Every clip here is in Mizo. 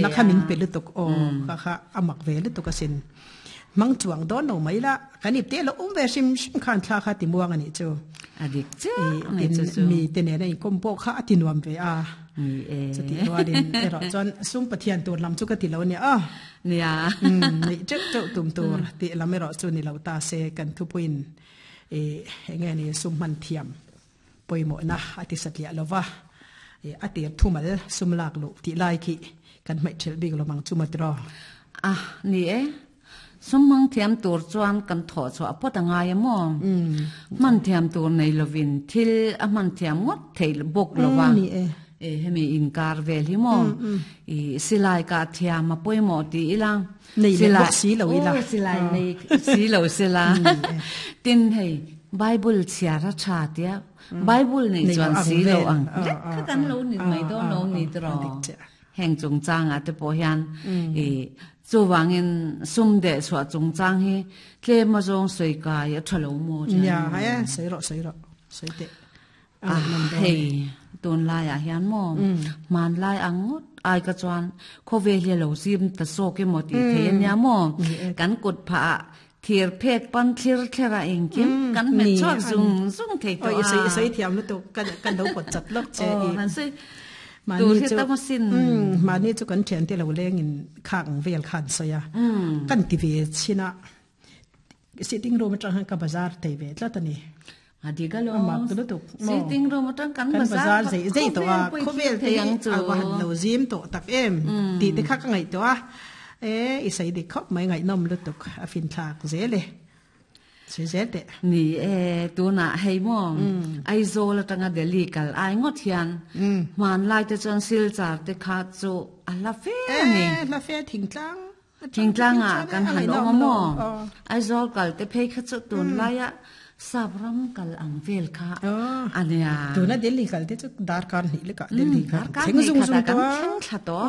na kha min pe lutuk aw kha kha a mak ve lutuk asin. Hmang chuang dawn lo mai la, kan ip te lo awm ve hrim hrim khan thla kha ti muang a nih chu. A dik chiah mai chu chu. Mi te nena inkawm pawh kha a ti nuam ve a. Ni e. Chutih rualin erawh chuan sum Pathian tur lam chu ka ti lo nia aw. Nia. Neih teuh teuh tum tur tih lam erawh chu ni lo ta se kan thupuiin i eng nge ni sum hman thiam pawimawhna a ti satliah lo va, i a tir thumal sum lak luh tih lai khi kan hmaih thelh bik lo mang chu maw tiraw? A, ni e. Sum hmang thiam tur chuan kan thawh chhuah phawt a ngai a maw? Hman thiam tur nei lovin thil a hman thiam ngawt theih bawk lo va. Ni e. E, hemi inkar vel hi maw? I silai kah thiam a pawimawh ti ila. Nei leh bawk si lo ila. Aw, silai nei si lo sila. Tin hei, Bible chhiar a tha tia, Bible nei chuan si lo ang. Lek kha kan lo ni mai dawn lo ni tiraw? Heng chungchangah te pawh hian i chuvangin sum deh chhuah chungchang hi tlem azawng sawi kai a tha lo maw chuan. Nia, hai e, sawi rawh, sawi rawh, sawi teh. A hei, tunlaiah hian maw hmanlai ang ngawt ai ka chuan khawvel hi a lo zim ta zawk emaw tih theih a nia maw? Kan kut phah ah thir phek pan thlir thler a engkim kan hmet chhuak zung zung thei tawh a. Oi, sawi thiam lutuk, kan lo pawt chat lawk che i. Han sawi tur hi tam asin. Mahni chu kan thiante lo lengin khak ang vel khan sawi a, kan ti ve chin a. Sitting room atang khan ka bazar thei ve tlat a ni. A dik a lo. A mak lutuk. Sitting room atang kan bazar zei zei tawh a. Khawvel te hi a va han lo zim tawh tak em tih te kha ka ngaihtuah a. E i sawi dik khawp mai ngaihnawm lutuk a finthlak zel e. Sawi zel teh. Ni e, tunah hei maw Aizawl atanga Delhi kal ai ngawt hian hmanlai te chuan Silchar te kha chu a hla fe a ni. E hla fe thingtlang. Thingtlangah kan han awm a maw? Aizawl kal te phei kha chu tunlaia sap ram kal ang vel kha a nia. Tuna Delhi kal te chu darkar hnih lekah Delhi kha thleng zung zung tawh a. Kan thleng thla tawh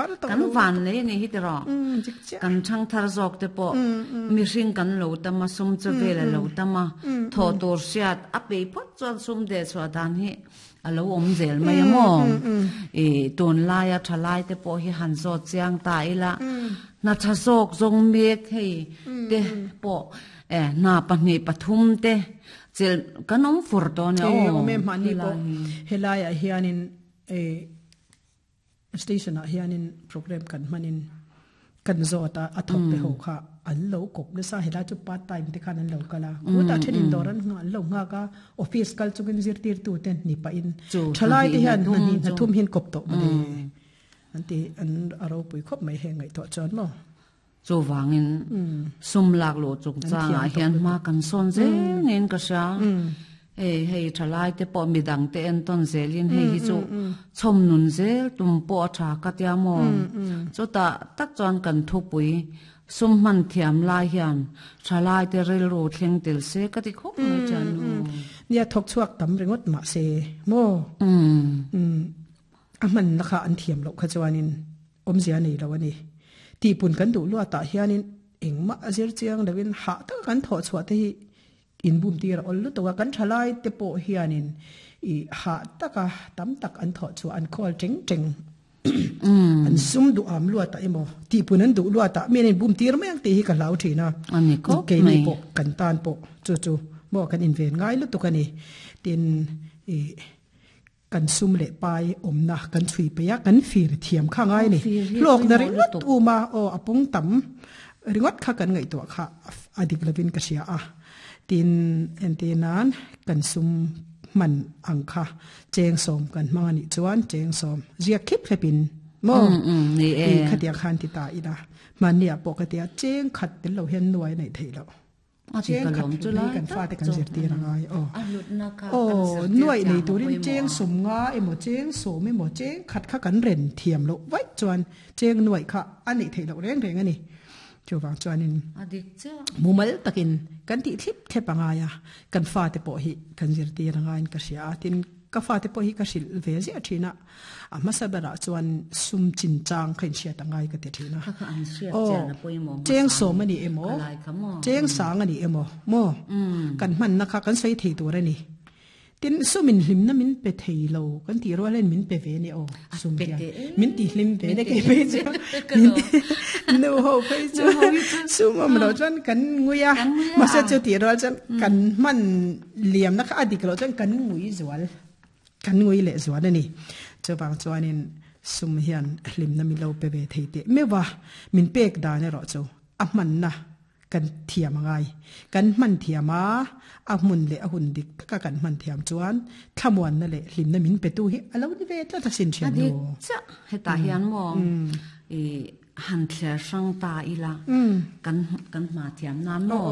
a. Kan van nei a nih hi tiraw. Kan thangthar zawk te pawh mihring kan lo tam a, sum chu vel a lo tam a, thawh tur hriat a peih phawt chuan sum dehchhuah dan hi A lo awm zel mai a maw? I tunlaia thalai te pawh hi han zawt chiang ta ila, hna tha zawk zawng mek hei te pawh e hna pahnih pathum te chelh kan awm fur tawh nia aw. Awm e mahni pawh helaiah hianin e Station ah hianin program kan hmanin kan zawt a, a thawk te ho kha an lo kawp nasa, helai chu part time te khan an lo kal a, khutah thenin dawr an an lo nghak a, office kal chungin zirtirtu te ni pahin thalai te hian hna hnih hna thum hian kawp tawh mawle an ti an a ropui khawp mai heng ngaihtuah chuan maw. Chuvangin sum lak luh chungchangah hian hma kan sawn zel niin ka hria. Hei hei thalai te pawh midang te entawn zelin hei hi chu chhawm nun zel tum pawh a tha ka tia maw. Chutah tak chuan kan thupui sum hman thiam lai hian thalai te rilru thleng tel se ka ti khawp mai chuan nu. Nia thawk chhuak tam ringawt mahse maw a hmanna kha an thiam loh kha chuanin Awmzia nei lo a ni. Tihpun kan duh luatah hianin engmah a zir chiang loin hah taka kan thawh chhuah te hi inbum tir a awl lutuk a, kan thalai te pawh hianin i hah taka tam tak an thawh chhuah an khawl teng teng an sum duh am luatah emaw tihpun an duh luatah mi an inbum tir mai ang tih hi ka hlau thin a, keini pawh kan tan pawh chu chu maw kan inven ngai lutuk a ni. Tin i. Kan sum leh pai awmna kan chhui peih a, kan fir thiam kha ngai a ni. Hlawkna ringawt um a, aw a pung tam ringawt kha kan ngaihtuah kha a dik lovin ka hria a. Tin, entir nan kan sum hman ang kha cheng sawm kan hmang a nih chuan cheng sawm ziak thlip thlepin maw i khatiang khan ti ta ila. Hmanniah pawh ka tia cheng khat tel lo hian nuai a neih theih loh. Cheng khat hlutna hi kan fate kan zirtir a ngai aw. Aw, nuaih nei turin cheng sawm nga emaw cheng sawm emaw cheng khat kha kan ren thiam loh vaih chuan cheng nuaih kha a neih theih loh reng reng a ni. Chuvang chuanin mumal takin kan tih thlip thlep a ngai a, kan fate pawh hi kan zirtir a ngaiin ka hria a, tin ka fate pawh hi ka hrilh ve ziah thin a. A hmasa berah chuan sum chinchang kha inhriat a ngai ka ti thin a. Aw, cheng sawm a ni emaw, cheng sang a ni emaw, maw? Kan hmanna kha kan sawi thei tur a ni. Tin sumin hlimna min pe thei lo kan tih rual hian min pe ve nia aw sum hian min ti hlim ve nia kei phei chu nu ho phei chu sum awm loh chuan kan ngui a mahse chu tih rual chuan kan hman liamna kha a dik loh chuan kan ngui zual kan ngui leh zual a ni. Chuvang chuanin sum hian hlimna min lo pe ve thei teh meuh a, min pek dan erawh chu a hmanna Kan thiam a ngai. Kan hman thiam a, a hmun leh a hun dik taka kan hman thiam chuan thlamuanna leh hlimna min petu hi a lo ni ve tlat asin thian nu. A dik chiah. Hetah hian maw i han thler hrang ta ila kan kan hma thiam nan maw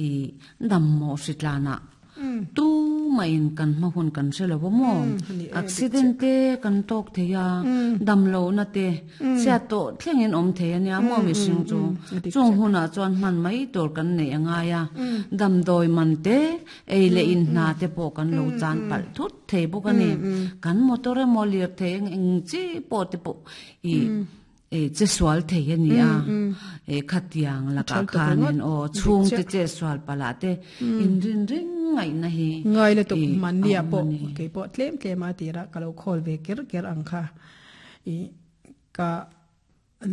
i dam mawh hritlanah Tu mahin kan hma hun kan hre lo a maw? Accident te kan tawk thei a, damlohna te chhiat tawh thlengin awm thei a nia maw mihring chu. Chung hunah chuan hman mai tur kan neih a ngai a, damdawi man te, ei leh in hna te pawh kan lo chan palh thut thei bawk a ni. Kan motor emaw lirthei eng chi pawh te pawh i E che sual thei a ni a, e khatiang lakah khanin aw chhungte che sual palah te inrin reng ngaihna hi Ngai lutuk mahnia pawh kei pawh tlem tlem a tirah ka lo khawl ve ker ker ang kha i ka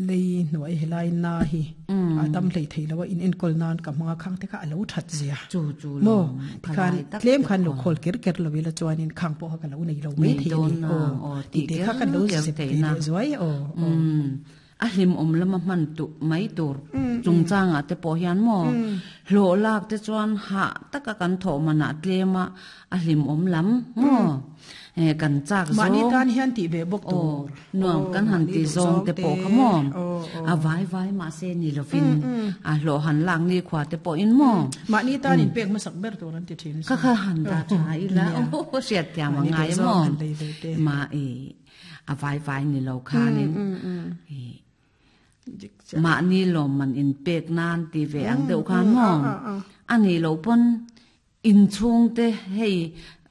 lei hnuai helai na hi a dam hlei thei lo a in enkawl nan ka hmang a khang te kha a lo that zia chu chu lo tikhan tlem khan lo khawl ker ker lo ila chuanin khang pawh kha ka lo nei lo mai thei a ni aw tih te kha kan lo zep ve leh zuai aw a hlim awm lama hman tu mai tur chungchangah te pawh hian maw hlawh lak te chuan hah taka kan thawh manah tlem a a hlim awm lam maw kan chak zawng mahni tan hian tih ve bawk tur nuam kan han ti zawng te pawh kha maw a vai vai mahse ni lovin a hlawh han lak ni khua te pawh in maw mahni tan in pek hmasak ber tur an ti thin kha kha han dah tha ila hriat thiam a ngai maw ma i a vai vai ni lo khanin mahni lawmman in pek nan ti ve ang deuh khan maw a nih loh pawn Inchhungte hei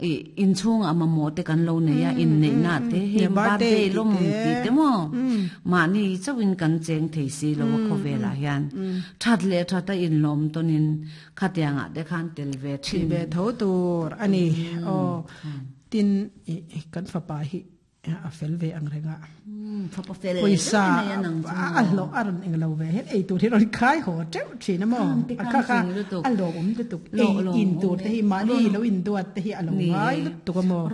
ih inchhungah mamawh te kan lo nei a, inneihna te hei birthday lawm tih te maw mahni chauhin kan cheng thei si lo a khawvelah hian that leh that a inlawm tawnin khatiangah te khan tel ve thin. Tih ve tho tur a ni. Aw tin ih kan fapa hi a fel ve ang reng a pawisa a hlawh a rawn eng lo ve hian ei tur hi rawn khai haw teuh thin a maw a kha kha a lawmawm lutuk ei in tur te hi mahni lo in duat te hi a lo ngai lutuk a maw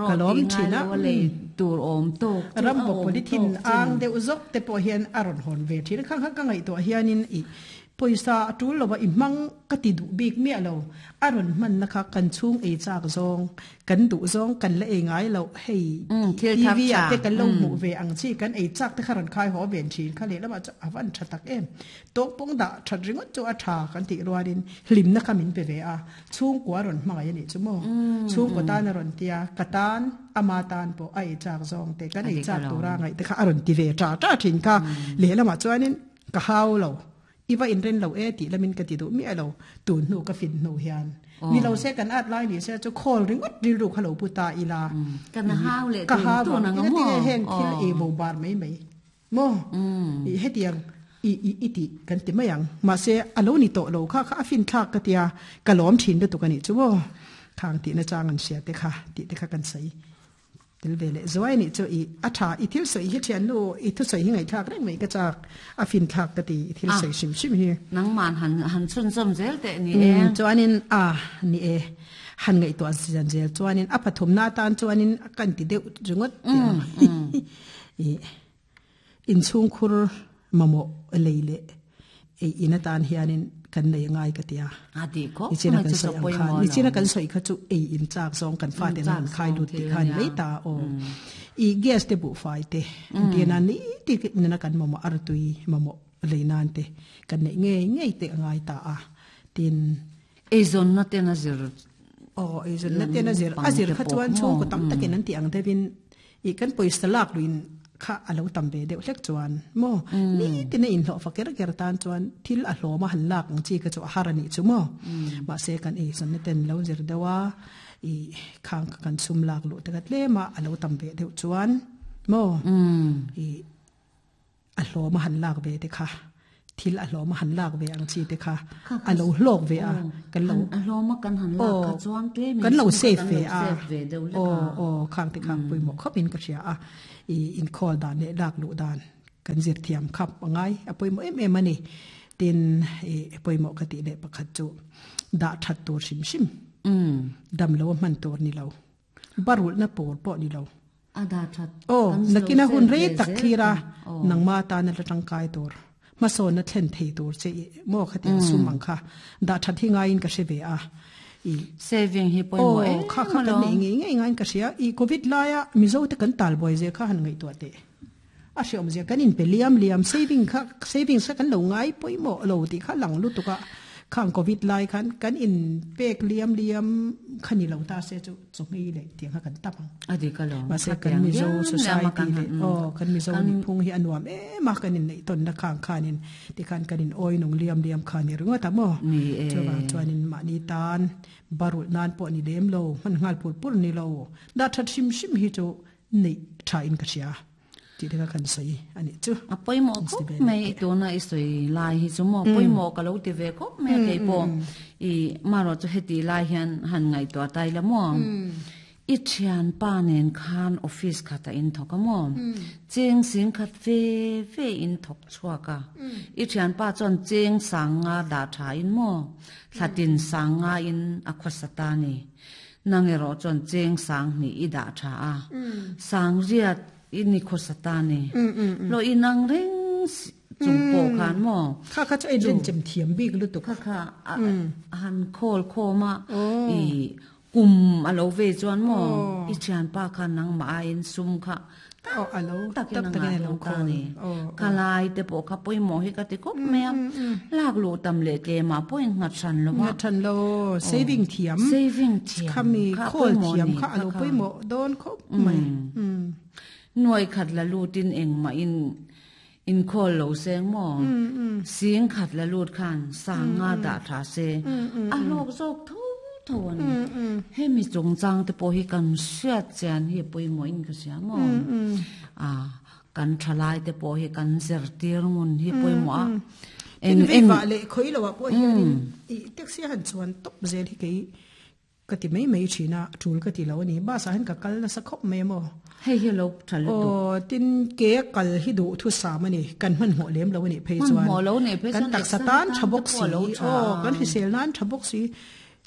ka lawm thin a ram bawk polythene ang deuh zawk te pawh hian a rawn hawn ve thin a khang kha ka ngaihtuah hianin ih Pawisa a tul lo a i hmang ka ti duh bik miah lo. A rawn hmanna kha kan chhung ei chak zawng, kan duh zawng kan la ei ngai loh hei TV ah te kan lo hmuh ve ang chi kan ei chak te kha rawn khai haw ven thin kha lehlamah chuan a van tha tak em. Tawkpawng dah that ringawt chu a tha kan tih rualin hlimna kha min pe ve a, chhungkua rawn hmangaih a nih chu maw. Chhungkua tan a rawn tia, ka tan, ama tan pawh a ei chak zawng te kan ei chak tura ngaih te kha a rawn ti ve tha tha thin kha lehlamah chuanin Ka hau lo. I va inren lo e tih lamin ka ti duh miah lo. Tun hnu ka fin hnu hian. Ni lo se kan at lai ni se chu call ringawt rilru kha lo pu ta ila. Kan hau leh tun tun ang a maw? Ka hau heng thil ei bo bar mai mai. Maw? I hetiang i i i tih kan ti mai ang. Mahse a lo ni tawh lo kha kha a fin thlak ka tia ka lawm thin lutuk a nih chu maw? Khang tihna chang an hria te kha tih te kha kan sawi. Tel ve leh zuai anih chu i a tha i thil sawi hi thiannu i thusawi hi ngaihthlak reng mai ka chak a finthlak ka ti i thil sawi hrim hrim hi. Nangman han han chhunzawm zel teh ni e. Chuanin a ni e han ngaihtuah zan zel chuanin a pathumna atan chuanin a kan ti deuh ringawt tih ang i inchhungkhur mamawh lei leh ei in atan hianin kan nei angai ka tia. A ti khawp Nichina kan sawi ang khan nichina kan sawi kha chu ei in chak zawng kan fa ten an khai lut tih khan mai ta aw. I gas te buhfai te tina ni ti nena kan mamawh artui mamawh lei nan te kan neih ngei ngei te angai ta a. Tin eizawnna ten a zir aw eizawnna ten a zir a zir kha chuan chhungkaw tam takin an tih ang deuhin I kan pawisa lak luin kha a lo tam ve deuh hlek chuan maw nitin a inhlawh fa ker ker tan chuan thil a hlawm a han lak ang chi kha chu a har a nih chu maw. Mahse kan eizawnna ten lo zir deuh a, i khang kha kan sum lak luh te kha tlem a a lo tam ve deuh chuan maw i a hlawm a han lak ve te kha. Thil a hlawm a han lak ve ang chi te kha a lo hlawk ve a kan lo a hlawm a kan han lak kha chuan tlem kan lo save ve a aw aw khang te khang pawimawh khawp in ka hria a i inkhawl dan leh lak luh dan kan zir thiam khap a ngai a pawimawh em em a ni tin i pawimawh ka tih leh pakhat chu dah that tur hrim hrim dam lo a hman tur ni lo. Barulhna pawl pawh ni lo. A dah that. Aw, nakina hun rei tak thlir a, nangma tana la tangkai tur, hmasawnna thlen thei tur che i maw khatiang sum ang kha dah that hi ngaiin ka hre ve a. I Saving hi pawimawh em Aw, kha kha kan neih ngei ngei ngaiin ka hria. I Covid laia Mizo te kan talbuai zia kha han ngaihtuah teh. A hreawm zia kan inpe liam liam, saving kha savings kha kan lo ngai pawimawh lo tih kha lang lutuk a, khang covid lai khan kan in pek liam liam kha ni lo ta se chu chawhmei leh tiang kha kan tam ang. A dik alawm. Mahse kan Mizo society leh aw kan Mizo nihphung hi a nuam em a, kan inneih tawnna khang khanin tikhan kan in awi nung liam liam kha ni ringawt a maw? Ni e. Chuvang chuanin mahni tan barulh nan pawh ni lem lo, hman nghal pur pur ni lo, dah that hrim hrim hi chu neih tha in ka hria tih te kha kan sawi a nih chu. A pawimawh khawp mai i tuna i sawi lai hi chu maw pawimawh ka lo ti ve khawp mai a kei pawh i marawh chu heti lai hian han ngaihtuah ta ila maw i thianpa nen khan office khat a in thawk a maw cheng sing khat ve ve in thawk chhuak a i thianpa chuan cheng sang nga dah tha in maw thlatin sang nga in a khawsa ta ni. Nang erawh chuan cheng sang hnih i dah tha a, sang riat i ni khawsa ta ni. Hlawh i nang reng chung pawh khan maw? Kha kha chu a inrenchem thiam bik lutuk. Kha kha a han khawl khawm a, i kum a lo ve chuan maw i thianpa khan nangmah aiin sum kha Tam takin a ngah dawn ta ni. Ka lai te pawh kha pawimawh hi ka ti khawp mai a. Lak luh tam leh tlemah pawh in nghat hran lo a. Nghat hran lo. Saving thiam. Saving thiam. Khami khawl thiam kha a lo pawimawh dawn khawp mai. Nuai khat la lutin engmah in inkhawl lo seng maw? Sing khat la lut khan sang nga dah tha se a hlawk zawk tho tho a ni. Hemi chungchang te pawh hi kan hriat chian hi a pawimawh in ka hria maw? A kan thalai te pawh hi kan zirtir ngun hi pawimawh a. Eng eng vah leh khawi lo ah pawh hianin i taxi a han chuan tawp zel hi kei Ka ti mai mai thin a, tul ka ti lo a ni. Bus ah hian ka kal nasa khawp mai a maw? Hei hi lo tha lutuk. Aw, tin ke a kal hi duh thusam a ni. Kan hmanhmawh lem lo a nih phei chuan. Hmanhmawh lo nih phei chuan kan taksa tan tha bawk si. Aw, kan hrisel nan tha bawk si.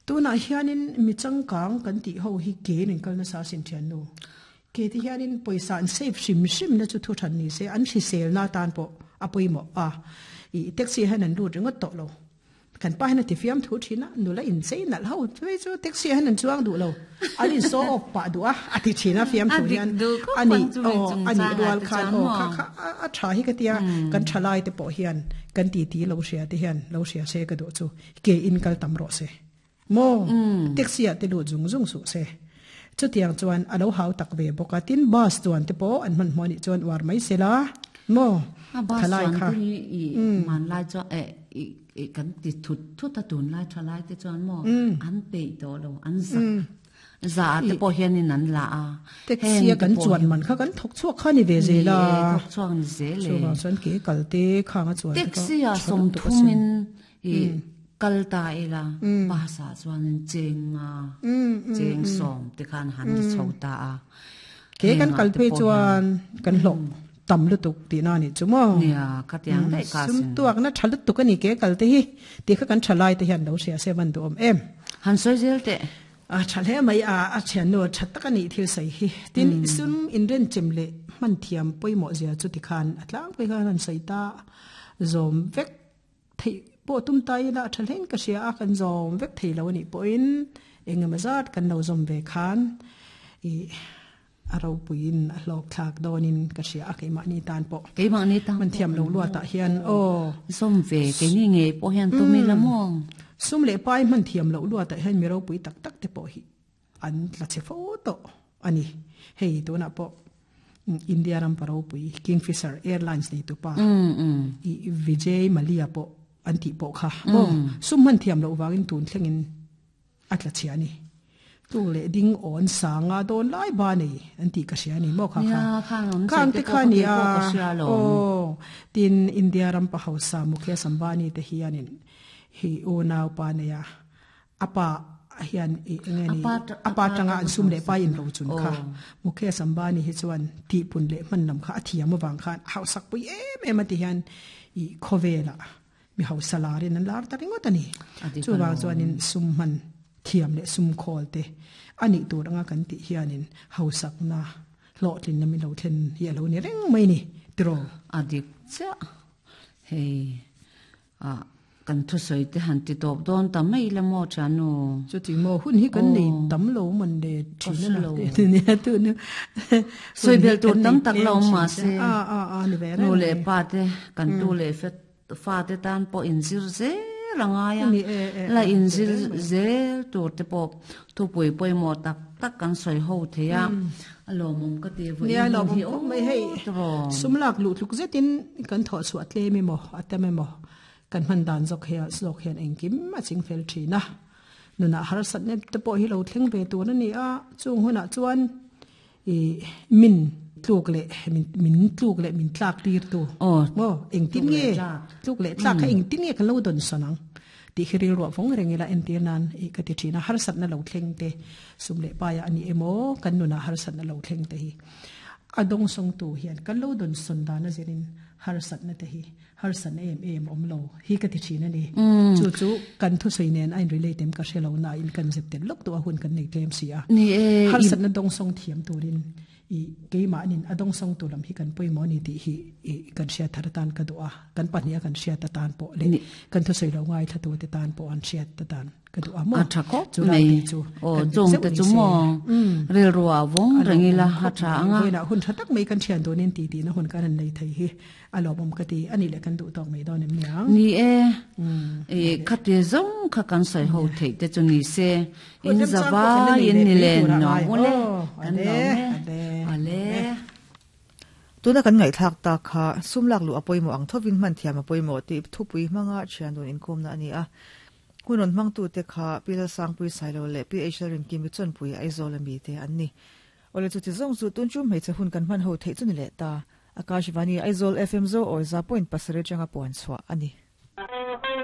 Tunah hianin mi changkang kan tih ho hi ke in an kal nasa asin thiannu. Ke te hianin pawisa an save hrim hrim na chu thu than ni se, an hrisel na tan pawh a pawimawh a. I taxi ah hian an lut ringawt tawh lo. Kan pa hian a ti fiam thu thin a, nula inchei nalh ho phei chu taxi ah hian an chuang duh lo, an in show off pah duh a, a ti thin a fiam thu hian a nih aw a nih rual khan aw kha kha a tha hi ka tia kan tha lai te pawh hian kan ti ti lo hria te hian lo hria se ka duh chu ke in kal tam rawh se maw taxi ah te lut zung zung suh se chutiang chuan a lo hau tak ve bawk a tin bus chuan te pawh an hmanhmawh anih chuan uar mai se la maw thalai kha hmanlai chuan eh i kan ti thut thut a tunlai thalai te chuan maw an peih tawh lo an zak za te pawh hianin an la a taxi a kan chuan man kha kan thawk chhuak kha ni ve zel a thawk chhuak ni zel e chuvang chuan ke kal te khang a chuan taxi a sawmthumin I kal ta ila bus ah chuanin cheng nga cheng sawm te khan han ri chho ta a. Ke kan kal phei chuan kan hlawh tam lutuk tihna a nih chu maw? Nia, ka tiang daih ka sin. Sum tuakna tha lutuk a ni ke kal te hi tih kha kan tha lai te hian lo hria se van duhawm em. Han sawi zel teh. A tha hle mai a, a thiannu tha tak a nih thil sawi hi. Tin, sum inrenchem leh hman thiam pawimawh zia chu tikhan a tlangpui khan han sawi ta zawm vek. Theih pawh tum ta ila a tha hlein ka hria a, kan zawm vek thei lo a nih pawhin engemaw zat kan lo zawm ve khan ih a ropuiin a hlawk thlak dawnin ka hria a keimahni tan pawh. Keimahni tan pawh. Man thiam lo luatah hian aw. Zawm ve keini ngei pawh hian tum ila maw? Sum leh pai hman thiam loh luatah hian mi ropui tak tak te pawh hi an tla chhe fo tawh a ni. Hei tunah pawh India ram pa ropui Kingfisher Airlines nei tupa i Vijay Mallya pawh an tih pawh kha maw sum hman thiam loh vangin tun thlengin a tla chhia a ni. Tluk leh ding awn sanga dawn lai ba nei an tih ka hria a ni maw kha kha. Nia, khang an Khang sawi te te kha pawh ni kha a, keipawh ka hria alawm. aw. Tin, India ram pa hausa Mukesh Ambani te hianin hi unau pa nei a, a pa hian i eng nge A ni, pa a a pa pa tanga tanga an sum leh hausa pa in kha. ro chun kha. Aw. Mukesh Ambani hi chuan tihpun leh hman lam kha a thiam avang khan a hausak pui em em a ti hian i khawvelah Mi hausa larin an lar ta ringawt a ni. A dik Chuvang alawm. chuanin sum hman thiam leh sum khawl te a nih tur anga kan tih hianin hausakna hlawhtlinna min lo thlen hi a lo ni reng mai ni tiraw? A dik chiah. Hei ah kan thusawi te han ti tawp dawn ta mai la maw thiannu? Chuti maw hun hi kan nei Aw. tam lo man le Ka thin a hre la lo. te nia tun hun Sawi hi bel tur kan tam nei tak la tlem awm thin mah che. se A a a ni ve nu reng leh mai. pa te kan tu leh fet Fate tan pawh inzir zel a ngai a, Ni e e la e, inzir teh reng mai. zel tur te pawh thupui pawimawh tak tak kan sawi ho thei a, a lawmawm ka ti vawiin Nia hun lawmawm hi khawp mai hei, awt rawn. sum lak luh tluk zetin kan thawh chhuah tlem emaw a tam emaw kan hman dan zawk hi zawk hian engkim a ching fel thin a, nunah harsatna te pawh hi lo thleng ve tur a ni a, chung hunah chuan I min tluk leh min tluk leh min tlak tir tu maw engtin nge tluk leh tlak kha engtin nge kan lo dawn sawn ang tih hi rilruah vawng reng ila entir nan i ka ti thin a harsatna lo thleng te sum leh paia a ni emaw kan nunah harsatna lo thleng te hi a dawngsawng tu hian kan lo dawn sawn dan a zirin harsatna te hi Harsatna em em awm lo hi ka ti thin a ni. Chu chu kan thusawi nen a in relate em ka hre lo na in kan zep tel lawk duh a hun kan nei tlem si a. Ni e. Harsatna dawngsawng thiam turin i keimahnin a dawngsawng tur lam hi kan pawimawh a ni tih hi i kan hriat thar atan ka duh a. Kan pahniha kan hriat atan pawh leh kan thusawi lo ngaithla tute tan pawh an hriat atan. Ka duh a maw? A tha khawp Chu lai mai. te chu Aw, kan chung zeuh te ni chu se. maw? Rilru ah vawng A reng ila lawmawm a khawp tha mai. ang a. Vawiinah hun tha tak mai kan thian tunin ti tihna hun kan han nei thei hi a lawmawm ka ti. A nih leh kan duh tawk mai dawn em niang? Ni e. I khati zawng kha kan sawi ho theih te chu ni se. Hun In remchang pawh kan la zavai nei in leh ni mai len turah nuam ngai. ule. Aw, Kan ale, nuam e. ale, Ale. ale. Tuna kan ngaihthlak tak kha sum lak luh a pawimawh ang thovin hman thiam a pawimawh tih thupui hmanga thian dun inkawmna a ni a. Hun rawn hmangtute kha Pi Lalsangpui Sailo leh Pi H Lalrinkimi Chawnpui Aizawl ami te an ni. Awle chuti zawng chu tun chu hmeichhe hun kan hman ho theih chu ni leh ta. Akashvani Aizawl FM Zo Awiza point pasarih atanga puan chhuah a ni.